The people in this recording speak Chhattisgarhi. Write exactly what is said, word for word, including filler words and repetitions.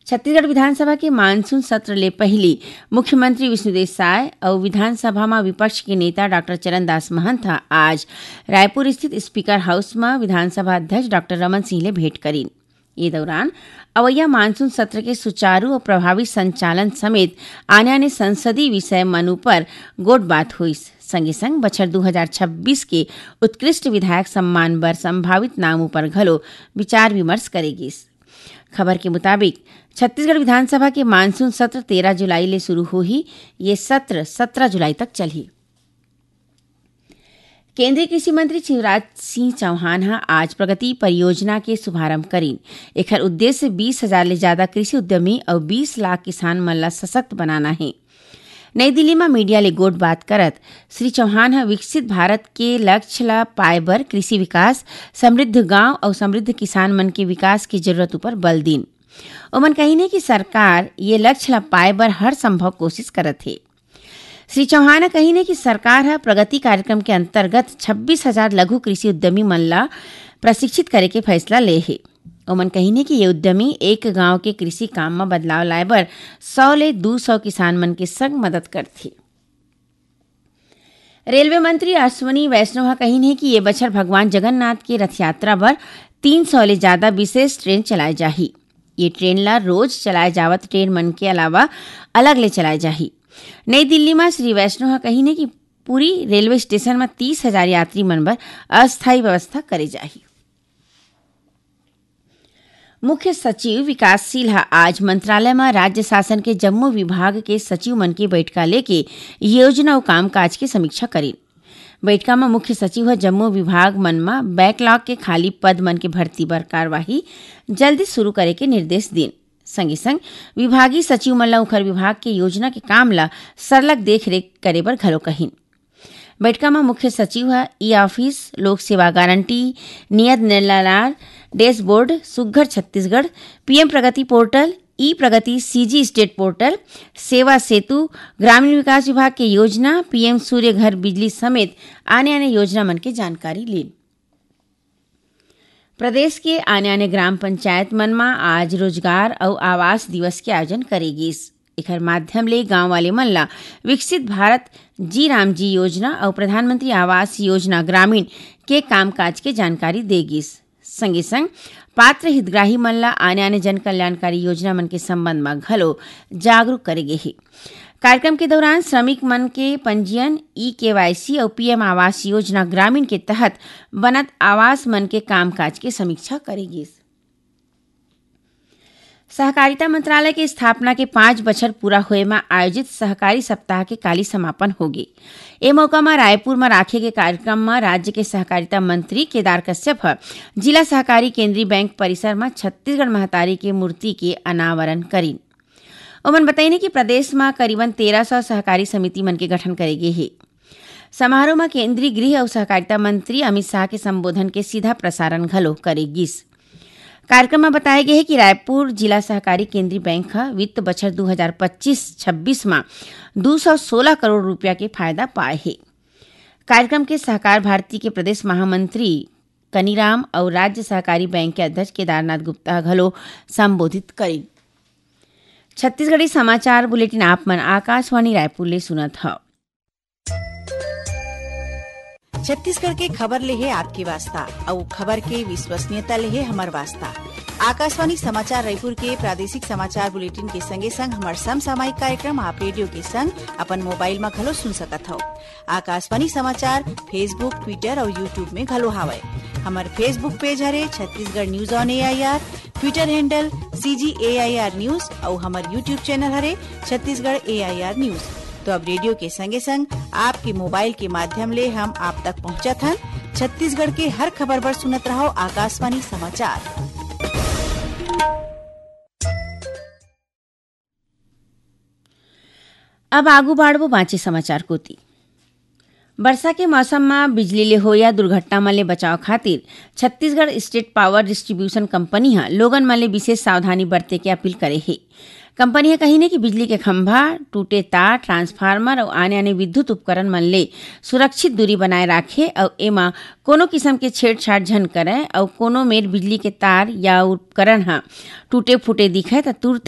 छत्तीसगढ़ विधानसभा के मानसून सत्र ले पहिली मुख्यमंत्री विष्णुदेव साय अउ विधानसभा म विपक्ष के नेता डॉक्टर चरणदास महंत ह आज रायपुर स्थित स्पीकर हाउस म विधानसभा अध्यक्ष डॉक्टर रमन सिंह ले भेंट करिन। ये दौरान अवैया मानसून सत्र के सुचारू अउ प्रभावी संचालन समेत आने-आने संसदीय विषय मन उपर गोठबात होइस। संगे संग बछर दू हजार छब्बीस के उत्कृष्ट विधायक सम्मान बर संभावित नाम उपर घलो विचार विमर्श करे गिस। खबर के मुताबिक, छत्तीसगढ़ विधानसभा के मानसून सत्र तेरह जुलाई ले शुरू होही। ये सत्र सत्रह जुलाई तक चलही। केंद्रीय कृषि मंत्री शिवराज सिंह चौहान ह आज प्रगति परियोजना के शुभारंभ करिन। एखर उद्देश्य बीस हजार ले ज्यादा कृषि उद्यमी अउ बीस लाख किसान मन ला सशक्त बनाना हे। नई दिल्ली म मीडिया ले गोठबात करत श्री चौहान ह विकसित भारत के लक्ष्य ला पाए बर कृषि विकास, समृद्ध गांव अउ समृद्ध किसान मन के विकास के जरूरत उपर बल दीन। ओमन कहिन हे कि सरकार ये लक्ष्य ला पाए बर हर संभव कोशिश करत हे। श्री चौहान ह कहिन हे कि सरकार ह प्रगति कार्यक्रम के अंतर्गत छब्बीस हजार लघु कृषि उद्यमी मन ला प्रशिक्षित करे के फैसला ले हे। ओमन कहिन हे कि ये उद्यमी एक गांव के कृषि काम म बदलाव लाए बर सौ ले दू सौ किसान मन के संग मदद करथे। रेलवे मंत्री अश्विनी वैष्णव ह कहिन हे कि ये बछर भगवान जगन्नाथ के रथ यात्रा बर तीन सौ ले ज्यादा विशेष ट्रेन चलाए जाही। ये ट्रेन ला रोज चलाए जावत ट्रेन मन के अलावा अलग ले चलाए जाही। नई दिल्ली म श्री वैष्णव ह कहिन हे कि पूरी रेलवे स्टेशन म तीस हजार यात्री मन बर अस्थायी व्यवस्था करे जाही। मुख्य सचिव विकासशील ह आज मंत्रालय म राज्य शासन के जम्मो विभाग के सचिव मन के बैठका लेके योजना अउ कामकाज के समीक्षा करिन। बैठका म मुख्य सचिव ह जम्मो विभाग मन म बैकलॉग के खाली पद मन के भर्ती बर कार्यवाही जल्दी शुरू करे के निर्देश दीन। संगे संग विभागीय सचिव मन ल उखर विभाग के योजना के काम ल सरलग देखरेख करे बर घलो कहिन। बैठका म मुख्य सचिव ह ई ऑफिस, लोक सेवा गारंटी, नियत निलार डैशबोर्ड, सुग्घर छत्तीसगढ़, पीएम प्रगति पोर्टल, ई प्रगति, सीजी स्टेट पोर्टल, सेवा सेतु, ग्रामीण विकास विभाग के योजना, पीएम सूर्य घर बिजली समेत आने-आने योजना मन के जानकारी लीन। प्रदेश के आने-आने ग्राम पंचायत मन म आज रोजगार अउ आवास दिवस के आयोजन करे गिस। एखर माध्यम ले गांव वाले मन ला विकसित भारत जी राम जी योजना अउ प्रधानमंत्री आवास योजना ग्रामीण के कामकाज के जानकारी दे गिस। संगे संग पात्र हितग्राही मन ला आने-आने जन कल्याणकारी योजना मन के संबंध म घलो जागरूक करे गे हे। कार्यक्रम के दौरान श्रमिक मन के पंजीयन, ई केवाईसी अउ पीएम आवास योजना ग्रामीण के तहत बनत आवास मन के कामकाज के समीक्षा करे गिस। सहकारिता मंत्रालय के स्थापना के पाँच बछर पूरा होए म आयोजित सहकारी सप्ताह के काली समापन होगे। ए मौका म रायपुर म राखे गे कार्यक्रम म राज्य के सहकारिता मंत्री केदार कश्यप ह जिला सहकारी केंद्रीय बैंक परिसर म छत्तीसगढ़ महतारी के मूर्ति के अनावरण करिन। ओमन बतइने कि प्रदेश म करीबन तेरह सौ सहकारी समिति मन के गठन करे गे हे। समारोह म केंद्रीय गृह अउ सहकारिता मंत्री अमित शाह के संबोधन के सीधा प्रसारण घलो करे गिस। कार्यक्रम म बताए गे हे कि रायपुर जिला सहकारी केंद्रीय बैंक ह वित्त बछर दू हजार पच्चीस छब्बीस म दू सौ सोलह करोड़ रुपया के फायदा पाए हे। कार्यक्रम के सहकार भारती के प्रदेश महामंत्री कनीराम अउ राज्य सहकारी बैंक के अध्यक्ष केदारनाथ गुप्ता ह घलो संबोधित करिन। छत्तीसगढ़ी समाचार बुलेटिन आप मन आकाशवाणी रायपुर ले सुनत हव। छत्तीसगढ़ के खबर ले हे आपके वास्ता, अउ खबर के विश्वसनीयता ले हे हमर वास्ता। आकाशवाणी समाचार रायपुर के प्रादेशिक समाचार बुलेटिन के संगे संग हमर समसामयिक कार्यक्रम आप रेडियो के संग अपन मोबाइल म घलो सुन सकत हव। आकाशवाणी समाचार Facebook, Twitter अउ YouTube में घलो हावय। हमर Facebook पेज हरे Chhattisgarh news on AIR, Twitter handle CG AIR news अउ हमर YouTube चैनल हरे छत्तीसगढ़ एआईआर न्यूज। तो अब रेडियो के संगे संग आपके मोबाइल के माध्यम ले हम आप तक पहुंचत हन। छत्तीसगढ़ के हर खबर बर सुनत रहव आकाशवाणी समाचार। अब आगू बाढ़बो बांचे समाचार कोति। बरसा के मौसम म बिजली ले होया दुर्घटना मन ले बचाव खातिर Chhattisgarh state power distribution company ह लोगन मन ले विशेष सावधानी बरते के अपील करे हे। कंपनी ह कहिन हे कि बिजली के खंभा, टूटे तार, ट्रांसफार्मर अउ आने-आने विद्युत उपकरण मन ले सुरक्षित दूरी बनाए राखे अउ एमा कोनो किसम के छेड़छाड़ झन करय अउ कोनो मेर बिजली के तार या उपकरण ह टूटे-फूटे दिखय त तुरते